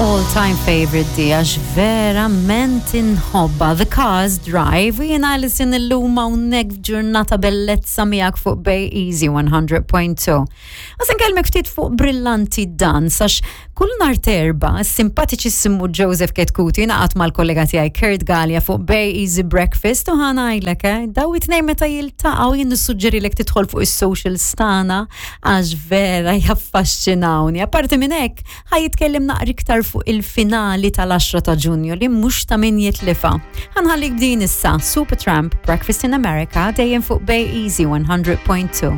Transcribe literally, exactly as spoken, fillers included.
All-time favorite di għax verament inħobba The Cars Drive u jiena Alison illum hawnhekk f'ġurnata bellezza miegħek fuq Bay Easy one hundred point two. Għasen kelmek ftit fuq Brillanti Dance, għax kull nhar t'Erbgħa simpatiċissimu Joseph Chetcuti jingħaqad mal-kollega tiegħi Kurt Gallia fuq Bay Easy Breakfast u ħa ngħidlek, eh, daw it-tnejn meta jiltaqgħu, jien nissuġġerilek tidħol fuq is-social tagħna għax vera jaffaxxinawni. Apparti minn hekk, ħa jitkellem naqra iktar fuq il-finali tal-għaxra ta' Ġunju li mhux ta' min jitlifa. Ħa nħallik b'din issa, Supertramp, Breakfast in America, dejjem fuq Bay Easy one hundred point two.